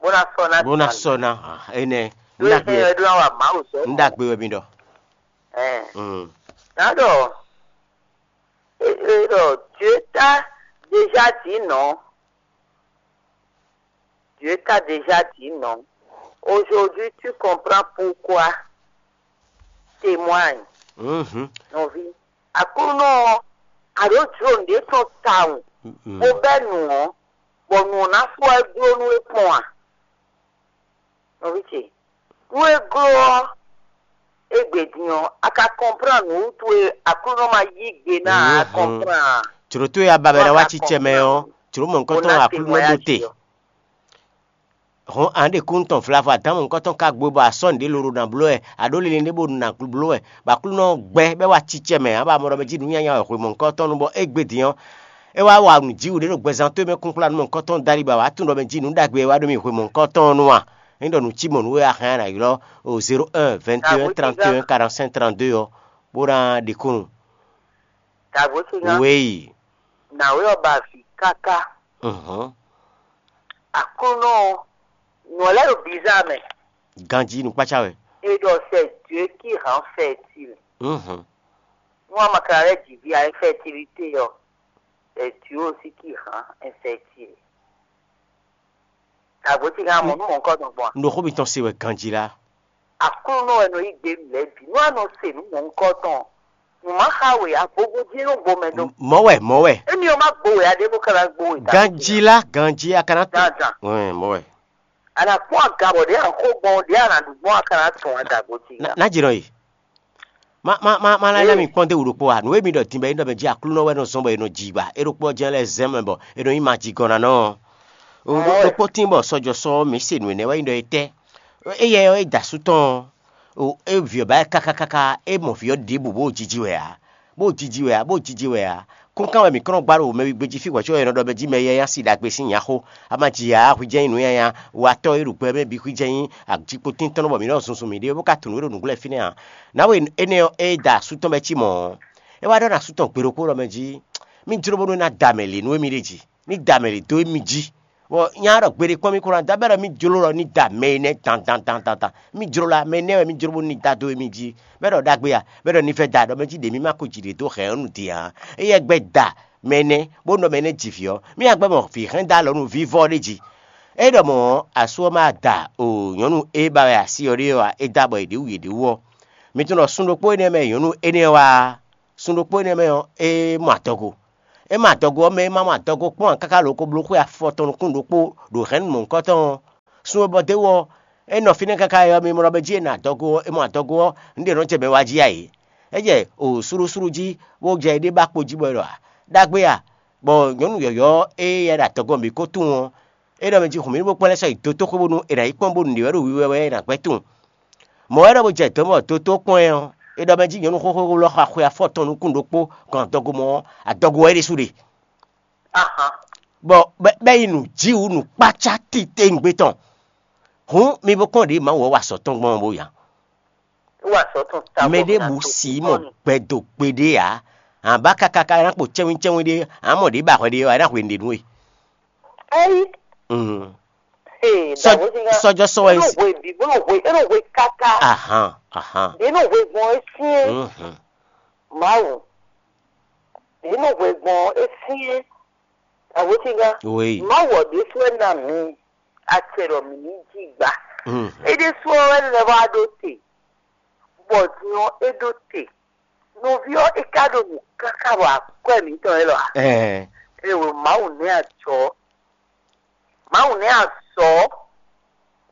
bó ná sɔ́ ná. Bó ná sɔ́ ná. Énɛ́. Nú é hɛn ɛ ɖó ná wa Mawu sɔ́. Nú ɖagbe wɛ mi ɖɔ. Ɛn. Ná ɖɔ é ɖɔ Dieu t'a déjà dit non. Dieu t'a déjà dit non. Aujourd'hui, tu comprends pourquoi. Témoigne. Mhm. Nɔví. Aklúnɔ ɔ́, a ɖǒ jló nǔɖé tɔn tawun, bó bɛ́ nǔ ɔ́, bɔ nǔ ɔ́ ná fó ɛ gló nú é kpɔn a? Nɔví ce, nú é gló ɔ́, égbé din ɔ́, a ka kɔnplán nǔ wútu e Aklúnɔ ma yí gbe ná ǎ, a kɔnplán a? Jlǒ towe a ba bɔ è nǎ wá cícɛ mɛ ɔ́, jlǒ mɔ̌hunkɔtɔn Aklúnɔ ɖó te. Hɔn a nǎ ɖe kúnnu tɔn vlavo adǎn mɔ̌hunkɔtɔn ka gbe bɔ a sɔ́ nǔɖé lolo ná bló wɛ, a ɖǒ linlin ɖé bó ná bló wɛ, bɔ Aklúnɔ gbɛ́ bɔ é wá cícɛ mɛ, ǎ ba mɔ ɖɔ mɛ jí nǔ nyanya wɛ hwe mɔ̌hunkɔtɔn nu bɔ égbé din ɔ́, é wá wa nǔjíwǔ ɖé ɖo gbɛzán towe mɛ kúnkplá nú mɔ̌hunkɔtɔn dali bɔ a wǎ tunwun ɖɔ mɛ jí nǔ ɖagbe e wá ɖó mì hwe mɔ̌hunkɔtɔn nu a? Ényí ɖɔ nǔ cí mɔ̌ nú we a hɛn a nǎ ylɔ́ o zéro un, vingt et un, trente et un, quarante-cinq, trente-deux ɔ́, bó ná ɖe kúnnu. Dǎgbó ce nya. Wéyi. Nǎwe ɔ́ ba vǐ káká. Mhm. Aklúnɔ ɔ́, nǔ ɔ́ lɛ́ ɖo bizá mɛ. Ganjí nukpácá wɛ. Et donc, c'est Dieu qui rend fertile. Mhm. Nú a ma ka lɛ́ ji vǐ a, infertilité ɔ́, c'est Dieu aussi qui rend infertile. Dǎgbó ce nya mɔ nú mɔ̌hunkɔtɔn gbɔn a? Un ɖo xó mitɔn se wɛ ganjí lá. Aklúnɔ wɛ nɔ yí gbe nǔ lɛ́ɛ bǐ. Nú a nɔ se nǔ mɔ̌hunkɔtɔn, nǔ ma xa we ǎ, vovo jí é nɔ gbo mɛ dó. Mɔ̌ wɛ, mɔ̌ wɛ. Émi ɔ́ má gbo we ǎ, ɖěbǔ ka ná gbo we. Ganjí lá, ganjí a ka ná tɔ́n. Dandan. Wɛn, mɔ̌ wɛ. A nǎ kpɔ́n aga bɔ ɖě a xo gbɔn, ɖě a nǎ ɖu gbɔn, a ka ná tɔn a dǎgbó ce nya. Ná jǐ nɔ yi. Ma ma ma ma lɛ́ ná mi kpɔ́n dó wǔ ɖokpó a? Nǔ e mi ɖɔ din bɔ é nɔ mɛ jí Aklúnɔ wɛ nɔ zɔ́n bɔ è nɔ ji ba, é ɖokpó ɔ́ jɛ́n lɛ́ zɛ́n mɛ bɔ è nɔ nyí majigɔ́nnánɔ ɔ́. Ɖokpó tín bɔ sɔjɔsɔ ɔ́, mǐ se nǔ énɛ́ wɛ nyí ɖɔ é tɛ́. Éyɛ ɔ́, é da asú tɔn ɔ́, é vǐ ɔ́ ba ɛ káká káká, é mɔ vǐ ɔ́ ɖěbǔ bó jiji wɛ ǎ, bó jiji wɛ ǎ, bó jiji wɛ ǎ. Kúnkan wɛ mǐ kɔn nɔ gbá ɖo mɛ wígbé jí fí hwɛ̌ có è nɔ ɖɔ mɛ jí mɛ yɛ́yɛ́ sín ɖagbe sín nya xó. A ma ji ǎ, hwi jɛ́n nyí nǔ nyanya, watɔ́ e ɖo gbɛ mɛ bǐ hwi jɛ́n nyí ajikpotíntɔ́nnɔ bɔ mǐ nɔ zunzun mǐɖée bó ka tunwun nǔ e ɖo nǔglɛ́ fínɛ́ ǎ. Nǎwe énɛ́ ɔ́, ée da asú tɔn mɛ cí mɔ̌ ɔ́, é wá ɖɔ nú asú tɔn gbe ɖokpó ɖɔ mɛ jí, mì jló bónú é ná da mɛ lě nú émí ɖé jí. Ní da mɛ lě dó émí jí. Bɔ nya ɖɔ gbeɖé kpɔ́n mì kó ná da bɛ́ ɖɔ mì jló ɖɔ ní da mɛ énɛ́ dan dan dan dan dan. Mì jló la mɛ énɛ́ wɛ mì jló bónú ní da dó émí jí. Bɛ́ ɖɔ ɖagbe a, bɛ́ ɖɔ ní vɛ́ da ɖɔ mɛ jí ɖě mì ma ko ji ɖě dó hɛ̌nnu din ǎ. Éyɛ́ gbɛ́ da mɛ énɛ́, bónú ɖɔ mɛ énɛ́ ji vǐ ɔ́, mì nya gbɛ́ mɔ vǐ hɛn da alɔ nú vívɔ́ ɖé jí. É ɖɔ mɔ̌, asú ɔ́ ma da o nyɔ̌nu e ba wɛ asi ɔ́ ɖe ɔ́ ǎ, é da bɔ è ɖě wu yě ɖě wú ɔ́. Mi tunwun ɖɔ sun ɖokpó énɛ́ mɛ nyɔ̌nu énɛ́ ɔ́ wá a? Sun ɖokpó énɛ́ mɛ ɔ́, é mɔ adɔgo. É mɔ adɔgo ɔ́ mɛ, é ma mɔ adɔgo kpɔ́n ǎ káká lǒ ko bló xwé afɔtɔn nukún ɖokpó ɖo hɛ̌nnu mɔ̌hunkɔtɔn ɔ́. Sun e bɔ d'é wú ɔ́, é nɔ fínɛ́ káká ɔ́, mi mɔ ɖɔ mɛ jí è nɔ adɔgo ɔ́, é mɔ adɔgo ɔ́, nǔɖé nɔ jɛ mɛ wá jí ǎ é. É jɛ o slúɖúslúɖú jí, bó jɛ éɖée ba kpo jí bɔ é ɖɔ a? Ɖagbe a? Bɔ nyɔ̌nu yɔ̌yɔ́ e yɛ ɖo adɔgo ɔ́ bǐ ko tunwun ɔ́, é ɖɔ mɛ jí hun mì ní bó kpɔ́n lɛ́ sɔ́ yi dotó xwé bónú è nǎ yi kpɔ́n bónú nǔɖé wɛ ɖo wiwa wɛ é nǎ gbɛ́ tunwun. Mɔ̌ wɛ ɖɔ bó jɛ dɔ̌n bɔ dotó kpɔ́n ɛ ɔ́, é ɖɔ mɛ jí nyɔ̌nu xóxó lɔ xɔ axwe afɔtɔn nukún ɖokpó gbɔn adɔgo mɔ ɔ́, adɔgo wɛ é ɖésú ɖe. Bɔ bɛ́ bɛ́ yi nǔ jí wǔ nǔkpácá titewungbe tɔn. Hǔn mi bo kpɔ́n ɖě Mawu ɔ́ wa azɔ̌ tɔn gbɔn ɔ́ bó ya. Mɛ ɖěbǔ si mɔ gbɛdo gbeɖé ǎ. Ǎ bá káká ká ná kpo cɛ́nwícɛ́nwí ɖé, ǎ mɔ ɖě ba hwɛ ɖé ɔ́, é ná hwe nǔɖé nú we. Ayi. Mm. Ee, Sɔ- dàgbò ti ŋa. Sɔjɔ sɔ wɛ Eno si. Hwe bi, bolo hwe, eno hwe kaka. Ahan, ahan. Eno hwe gbɔn esie. Mhm. Mawu. Eno hwe gbɔn esie. Awotínga, oui. Mawu ɔ́ ɖésú wɛ ná mǐ acɛ ɖɔ mǐ ní jí gbà. Mm. É ɖésú ɔ́ wɛ lɛ́ wá ɖó te, bɔ din ɔ́ é ɖó te. Nɔví ɔ́ é ka ɖo nǔ káká bɔ akwɛ́ mǐtɔn élɔ́ ǎ. Ɛɛ. Ée wǒ Mawu nɛ́ ajɔ, Mawu nɛ́ azɔ̌,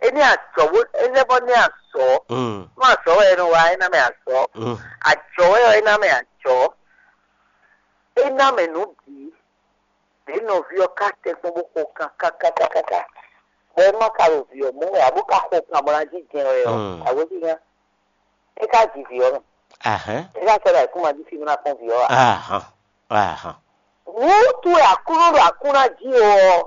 é nɛ́ ajɔ bó é lɛ́ bɔ nɛ́ azɔ̌. Mm. Nú azɔ̌ wɛ é nɔ wa, é ná mɛ azɔ̌. Mm. Ajɔ wɛ ɔ́, é ná mɛ ajɔ. É ná mɛ nǔ bǐ. Ɖě nɔví ɔ́ ka tɛ́nkpɔ́n bó xo kan kákákákáká, bɔ é má ka ɖo vǐ ɔ́ mɔ wɛ ǎ, bó ka xo kan bó ná jínjɛ́n wɛ ɔ́, mm, awǒjínjɛ́n é ka ji vǐ ɔ́ mɛ. Ahán. É ka sɔ́ ɖo ayǐkúngban jí fí bó ná kpɔ́n vǐ ɔ́ ǎ. Ahán. Ahán. Nǔ towe Aklúnɔ ɖo aklúnɔ jí ɔ́,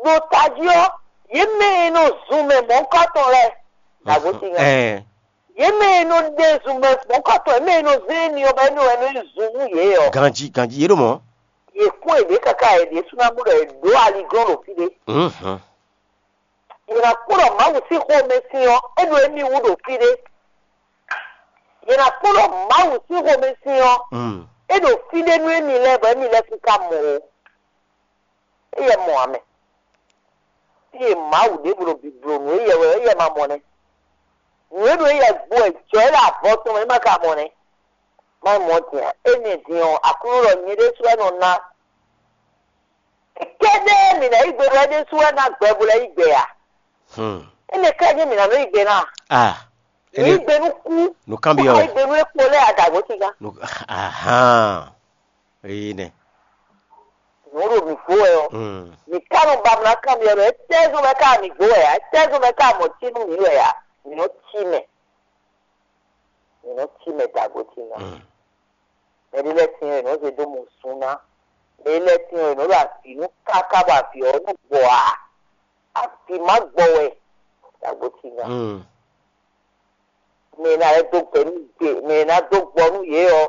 ɖo tají ɔ́, yě mɛ e nɔ zun mɛ mɔ̌hunkɔtɔn lɛ́ɛ, nǎgbó ti nya. Ɛɛ. Yě mɛ e nɔ ɖe zun mɛ mɔ̌hunkɔtɔn, yě mɛ e nɔ zé émí ɔ́, bɔ émí wɛ nɔ yi zun nú yě ɔ́. Ganjí, ganjí, yě ɖo mɔ̌. Yě kún yěɖée káká yě ɖésú ná bló ɖɔ yě ɖǒ aliglɔ́n ɖo fí ɖé. Mhm. Yě ná kpɔ́n ɖɔ Mawu sín xomɛ sin ɔ́, é ɖo émí wú ɖo fí ɖé. Yě ná kpɔ́n ɖɔ Mawu sín xomɛ sin ɔ́, mm, é ɖo fí ɖé nú émí lɛ́ɛ bɔ émí lɛ́ɛ kún ka mɔ ó. Éyɛ́ mɔ ǎ mɛ. Fí e Mawu ɖěvo ɖo bibló nǔ éyɛ́ wɛ ɔ́, éyɛ́ ma mɔ nɛ́. Nǔ e ɖo éyɛ́ gbo wɛ jɔ̌ é ɖo avɔ tɔn mɛ é ma ka mɔ nɛ́. Má nyí mɔ̌ din ǎ. Énɛ́ din ɔ́, Aklúnɔ ɖɔ nyɛ ɖésú wɛ nɔ ná. Kɛ́ɖɛ́ mǐ ná yí gbe ɖɔ é ɖésú wɛ ná gbɛ bó lɛ́ yí gbe ǎ. Hmm. Énɛ́ ká nyí mǐ ná nɔ yí gbe ná. Ah, mǐ yí gbe nú kú. Nǔkanbyɔ́ wɛ. Yí gbe nú ékpo lɛ́ɛ adǎgbó tígá. Nǔ-, ahán. Éyí nɛ. Nǔ ɖo mǐ gbó wɛ ɔ́. Hmm. Mǐ ká nɔ ba mǐ ná kanbyɔ́ ɖɔ étɛ́ zɔn mɛ ká mǐ gbó wɛ ǎ? Étɛ́ zɔn mɛ ká mɔ cí nú mǐ wɛ ǎ? Mǐ nɔ cí mɛ. Mǐ nɔ cí mɛ dǎgbó tígá. Hmm. Mɛ ɖé lɛ́ɛ tíin ɔ́, è nɔ́ zé dó mɔ sun ná. Mɛ ɖé lɛ́ɛ tíin ɔ́, è nɔ́ ɖo avǐ nú káká bɔ avǐ ɔ́ nú gbɔ ǎ. Avǐ má gbɔ wɛ, dǎgbó tíin ná. Mm. Mɛ e ná lɛ́ dó gbɛ nú gbè, mɛ e ná dó gbɔ nú yě ɔ́,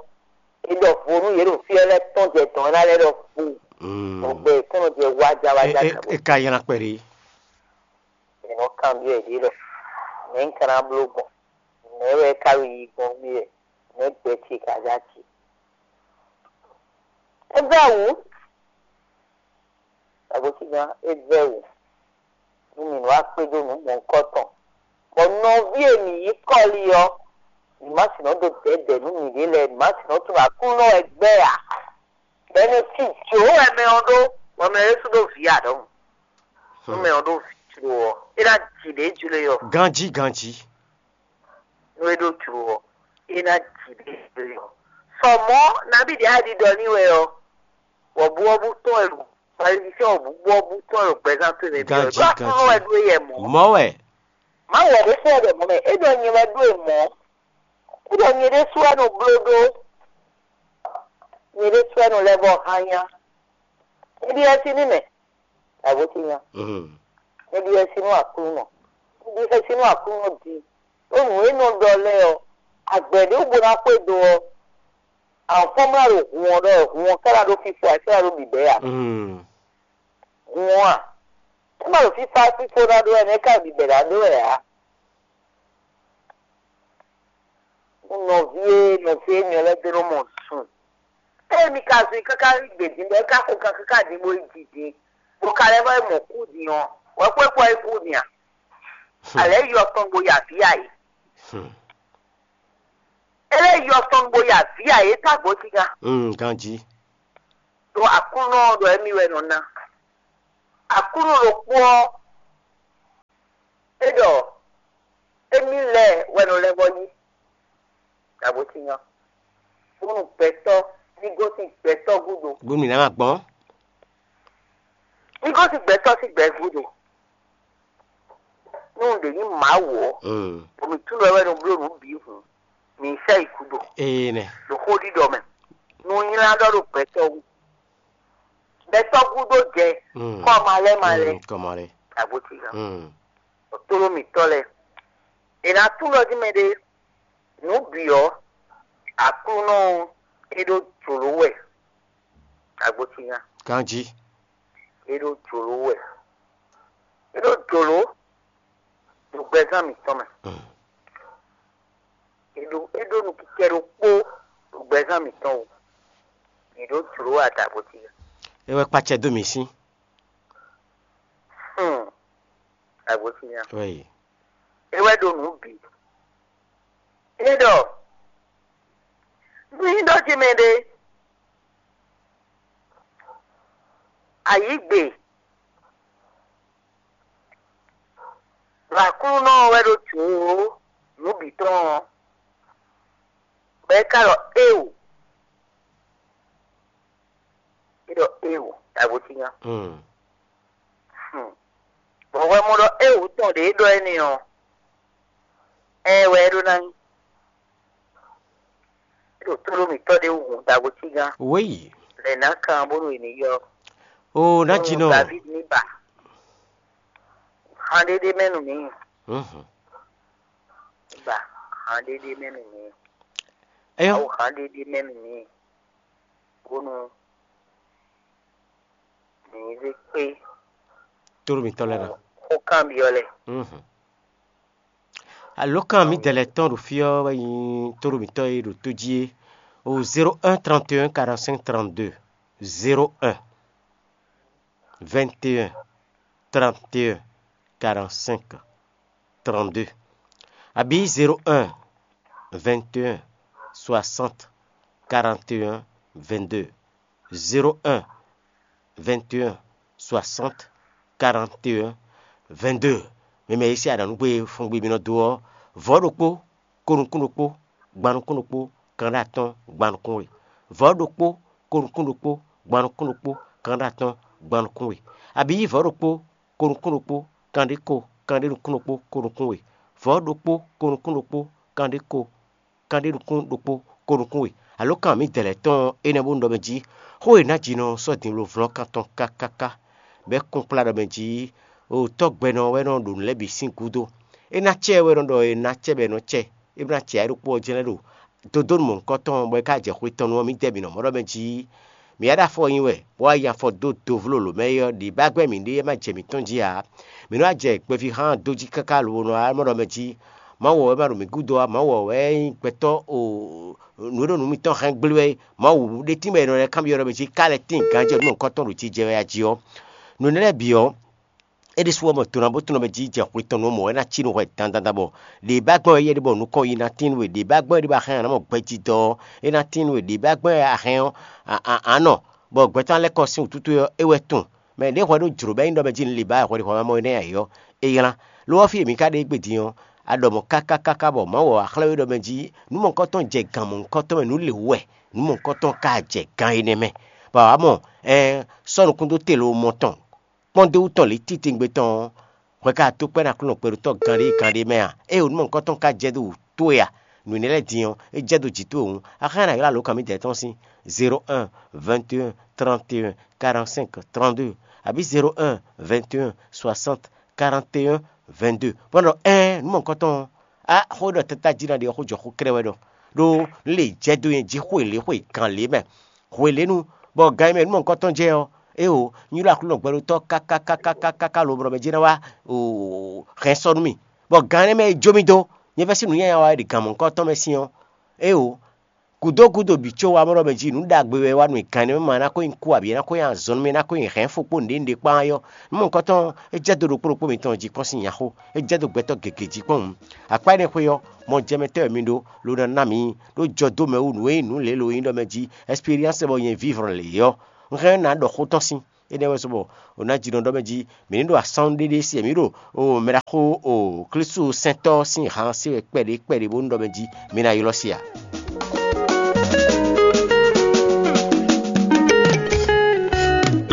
é ɖɔ vo nú yě ɖo fí ɔ́ lɛ́ɛ tɔ́n jɛ dɔ̌n é ná lɛ́ ɖɔ vo. Mm. Bɔ gbɛ yětɔn nɔ jɛ wájá wájá. E, e, dǎgbó. E ka nylá kpɛɖé. È nɔ kanbyɔ́ yě ɖě ɖɔ: Nɛ̌ un ka ná bló gbɔn? Nɛ̌ wɛ é ka ɖo yiyi gbɔn nú mì wɛ? Nɛ̌ gbɛ ce ka jɛ acɛ? É vɛ́ wǔ, agbosígan, é vɛ́ wǔ nú mì nǔ wá kpédó nǔ mɔ̌hunkɔtɔn, bɔ nɔví e mǐ nyí kɔ́li ɔ́, mǐ má sixú nɔ dó dɛ̌dɛ̌ nú mǐɖée lɛ́ɛ, mǐ má sixú nɔ tunwun Aklúnɔ wɛ gbɛ́ ǎ. Bɔ é nɔ cí jǒ wɛ mɛ ɔ́ ɖó, bɔ mɛ ɔ́ ɖésú ɖó vǐ ǎ ɖɔhun. Nú mɛ ɔ́ ɖó vǐ jló ɔ́, é ná ji ɖě jló e ɔ́. Ganjí, ganjí. Nú é ɖó jló ɔ́, é ná ji ɖě jló e ɔ́. Sɔ mɔ̌, nabí ɖě a ɖiɖɔ n'i wɛ ɔ́, wɔ̌buwɔ́bú tɔn wɛ ɖo, Malivisɛ́n wɔ̌buwɔ́bú tɔn wɛ ɖo gbɛzán towe mɛ bǐ ɔ́. Ganjí, ɖó Aklúnɔ ganjí. Wɛ ɖó yɛ mɔ̌. Mɔ̌ wɛ. Mawu wɛ ɖésú wɛ ɖɔ mɔ̌ mɛ, é ɖɔ nyɛ wɛ ɖó e mɔ̌. Kúɖɔ nyɛ ɖésú wɛ nɔ bló ɖó. Nyɛ ɖésú wɛ nɔ lɛ́ vɔ hán nyá. Nyɛ ɖi xɛsi nú mɛ. Dǎgbó ce nya. Mm. Nyɛ ɖi xɛsi nú Aklúnɔ. Nyɛ ɖi xɛsi nú Aklúnɔ din. Ɖó nǔ e nɔ ɖɔ lɛ́ɛ ɔ́, agbɛ̌ ɖé wú bó ná xwedó ɔ́, àwọn fɔ́nmlá ɖo hun ɔ́ ɖɔ hun ɔ́ ká ná ɖó fífó ǎ, é ká ná ɖó bǐbɛ́ ǎ. Mm. Hun ɔ́ a? É má ɖo fífá fífó ná ɖó wɛ nɛ́, é ká ɖo bǐbɛ́ ná ɖó wɛ ǎ. Nɔví e nɔví e nyɔ lɛ́ɛ dó nɔ mɔ sun. Ée mi ka zun i káká yi gbě din bɔ é ka xo kan káká din bó yi ji din, bó ka lɛ́ vɔ yi mɔ kú din ɔ́, wɛ̌ xwé kpɔ é kú din a? Alɛ yɔ tɔn bo ya vǐ a yě. Hmm. É lɛ́ yɔ tɔn bo ya vǐ a yě tá gbǒ sí gán. Hmm, ganjí. Ɖo Aklúnɔ ɔ́ ɖɔ émí wɛ nɔ ná. Aklúnɔ ɖokpó ɔ́, é ɖɔ émí lɛ́ɛ wɛ nɔ lɛ́ vɔ yí. Dǎgbó tín ɔ́, bónú gbɛtɔ́ ní gosín gbɛtɔ́ gúdo. Bónú mǐ ná ná gbɔn. Ní gosín gbɛtɔ́ sín gbɛ gúdo. Nú un ɖě nyí Mawu ɔ́, mm, bɔ mǐ tunwun ɖɔ wɛ nɔ bló nǔ bǐ hǔn, mǐ sɛ yi gúdo. Ee nɛ. Ɖo xó ɖiɖɔ mɛ. Nú nylá ɖɔ ɖo gbɛtɔ́ wú. Gbɛtɔ́ gúdo jɛ, mm, kɔ́ ma lɛ́ ma lɛ́. Mm, kɔ́ ma lɛ́. Dǎgbó tín ɔ́. Mm. Tlóló mǐtɔn lɛ́ɛ. È nǎ tunwun ɖɔ jí mɛɖé nǔ bǐ ɔ́, Aklúnɔ ɔ́, é ɖó jlǒ wɛ. Agbotínya. Ganjí. É ɖó jlǒ wɛ. É ɖó jlǒ ɖo gbɛzán mǐtɔn mɛ. Mm. É ɖó é ɖó nukínkɛ́ ɖokpó ɖo gbɛzán mǐtɔn wú. Mǐ ɖó jlǒ wɛ adǎgbótínya. É wɛ kpacɛ dó mì sín. Hmm. Agbosinyan. Wɛyi. É wɛ ɖo nǔ bǐ. É ɖɔ nú nyí ɖɔ ce mɛ ɖé, ayǐgbe ɖo Aklúnɔ wɛ ɖo jǒ nǔ bǐ tɔn ɔ́, bɔ é ka ɖɔ éeǒ. É ɖɔ éeǒ, ɖagbosinyan. Hmm. Bɔ hwɛ mɔ ɖɔ éeǒ tɔn ɖě é ɖɔ énɛ́ ɔ́, ɛɛ wɛ é ɖó ná nyí. É ɖo tlóló mǐtɔn ɖé wú hun ɖagbosinyan. Wěyi. Lɛ ná kan bónú è ní yɔ. O ná jinɔ. David ní ba. Han ɖéɖé mɛ nú mǐ. Mhm. Ba han ɖéɖé mɛ nú mǐ. Eyɔ. Awu han ɖéɖé mɛ nú mǐ. Bónú mǐ zé kpé Tóɖó mǐtɔn lɛ́ɛ ná. Xó kanbyɔ́ lɛ́ɛ. Mhm. Alǒkan mǐdɛɛ lɛ́ɛ tɔn ɖo fí ɔ́ wɛ nyí tóɖó mǐtɔn e ɖo tó jí é. O zéro un trente et un quarante-cinq trente-deux, zéro un vingt et un trente et un quarante-cinq trente-deux, abǐ zéro un vingt et un soixante quarante et un vingt-deux, zéro un vingt et un soixante quarante et un vingt-deux. Mɛ mɛ e sí aɖǎnúgbé fɔngbe mì nɔ dó ɔ́, vɔ̌ ɖokpó, ko nukún ɖokpó, gban nukún ɖokpó, kanɖé atɔ́ɔ́n, gban nukún we. Vɔ̌ ɖokpó, ko nukún ɖokpó, gban nukún ɖokpó, kanɖé atɔ́ɔ́n, gban nukún we. Abǐ vɔ̌ ɖokpó, ko nukún ɖokpó, kanɖé ko, kanɖé nukún ɖokpó, ko nukún we. Vɔ̌ ɖokpó, ko nukún ɖokpó, kanɖé ko, kanɖé nukún ɖokpó, ko nukún we. Alǒkan mǐdɛɛ lɛ́ɛ tɔn énɛ́ bónú ɖɔ mɛ jí, xó e nǎ jí nɔ sɔ́ din bló vlɔ́nkan tɔn kákáká, bɔ é kún kplá ɖɔ mɛ jí, o tɔ́gbɛnɔ wɛ nɔ ɖo nǔ lɛ́ɛ bǐ sín gúdo. É ná cɛ wɛ nɔ ɖɔ è nǎ cɛ bɔ è nɔ cɛ, é ná cɛ ayǐ ɖokpó ɔ́ jɛ́n lɛ́ ɖo dodónu mɔ̌hunkɔtɔn bɔ é ka jɛ xwe tɔn nu ɔ́, mǐdɛɛ bǐ nɔ mɔ ɖɔ mɛ jí, mǐ wá ɖo afɔ nyi wɛ, bó wá yi afɔ dó dovlólo mɛ é ɔ́, ɖi bá gbɛ́ mǐ ɖé é má jɛ mǐtɔn jí ǎ. Mǐ nɔ́ wá jɛ gbɛví hán dó jí káká lobo nɔ wá mɔ ɖɔ mɛ jí, Mawu ɔ́ wɛ ma ɖo mǐ gúdo ǎ, Mawu ɔ́ wɛ nyí gbɛtɔ́ o nǔ e ɖo nǔ mitɔn hɛn gblé wɛ é. Mawu ɖe tín bɔ è nɔ lɛ́ kanbyɔ́ ɖɔ mɛ jí ká lɛ́ tín ganjɛ nú mɔ̌hunkɔtɔn ɖo jijɛ wɛ a jí ɔ́. Nǔ énɛ́ lɛ́ɛ bǐ ɔ́, é ɖésú ɔ́ mɔ to ná bó tunɔ mɛ jí jɛ xwe tɔn nú mɔ é ná cí nú hwɛ dandan bɔ ɖě bá gbɔn é yɛ ɖé bɔ nukɔn yi ná tín we, ɖě bá gbɔn é ɖé bɔ ahɛn ɔ́ ná mɔ gbɛjidɔ ɔ́, é ná tín we, ɖě bá gbɔn é ahɛn ɔ́, a- a- anɔ, bɔ gbɛtɔ́ ná lɛ́ kɔ sín wǔtútú ɔ́, é wɛ tunwun. Mɛ ɖěvo wɛ ɖó jlǒ bɔ é nyí ɖɔ mɛ jí un li bǎ wɛ hwɛɖixɔ ma mɔ énɛ́ ǎ é ɔ́, é nylá. Lo ɔ́, fí e mǐ ka ɖe égbé din ɔ́, a ɖɔ mɔ̌ káká káká bɔ Mawu ɔ́ wá xlɛ́ we ɖɔ mɛ jí nǔ mɔ̌hunkɔtɔn jɛ gan mɔ̌hunkɔtɔn mɛ, nǔ lě wú wɛ, nǔ mɔ̌hunkɔtɔn ka jɛ gan énɛ́ mɛ. Bɔ a wǎ mɔ, ɛɛn, sɔ́ nukún dó te lo mɔ tɔn kpɔ́n d'é wú tɔn lě titewungbe tɔn ɔ́, hwɛ ka tó kpɛ́ nú Aklúnɔ kpɛɖotɔ́ gán ɖé gán ɖé mɛ a? Ée wǒ nú mɔ̌hunkɔtɔn ka jɛ dó wǔ towe a? Nǔ énɛ́ lɛ́ɛ din ɔ́, é jɛ dó jǐ towe hǔn, a xá ná ylɔ́ alǒkan mǐdɛɛ tɔn sín zéro un vingt et un trente et un quarante-cinq trente-deux, abǐ zéro un vingt et un soixante quarante et un vingt-deux. Bɔ nɔ ɛɛn nǔ mɔ̌hunkɔtɔn ɔ́, a xó ɖɔ tata jí ná ɖe ɔ́, xó jɔ xó kɛ́ɖɛ́ wɛ ɖɔ, ɖó nǔ lě jɛ dó nyɛ jí xwe lě xwe gǎn lě mɛ. Hwelěnu, bɔ gan e mɛ nǔ mɔ̌hunkɔtɔn jɛ ɔ́, éeǒ, un ylɔ́ Aklúnɔ gbɛɖótɔ́ káká káká káká lobo ɖɔ mɛ jɛ́n ná wá hɛn sɔ́ nú mì, bɔ gan énɛ́ mɛ e jó mì dó, nyɛ vɛ́ sín nǔnywɛ́ wa e ɖi gan mɔ̌hunkɔtɔn mɛ sín ɔ́, éeǒ, gǔdo gúdo bǐ có wá mɔ ɖɔ mɛ jí nǔ ɖagbe wɛ wá nú mì gan énɛ́ mɛ ma ná ko nyi kú abǐ é ná ko nyi azɔn nú mì, é ná ko nyi hɛ̌nfo kpó nǔɖé nǔɖé kpán ɔ́. Nǔ mɔ̌hunkɔtɔn ɔ́, é jɛ dó ɖokpó ɖokpó mitɔn jí kpɔ́n sín nyaxó, é jɛ dó gbɛtɔ́ gěgé jí kpɔ́n hǔn. Akpá énɛ́ xwé ɔ́, mɔjɛmɛtɔ́ wɛ mi ɖó, lo ná ná mǐ ɖó jɔ dó mɛ wú nǔ e nyí nǔ lě lo nyí ɖɔ mɛ jí, ɛsperiánse bɔ nyɛ vívr lě ɔ́, un hɛn ná ɖɔ xó tɔn sín. Énɛ́ wɛ sɔ bɔ o ná jí nɔ ɖɔ mɛ jí, mǐ ní ɖo asán ɖéɖé sí mǐ ɖo o mɛ ɖaxó o Klísu sɛntɔ́ sín han sé wɛ kpɛɖé kpɛɖé bónú ɖɔ mɛ jí mǐ ná ylɔ́ sí ǎ.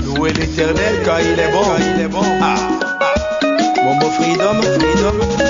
Louez l'Éternel car il est bon. Ah, ah. Mon beau freedom, freedom.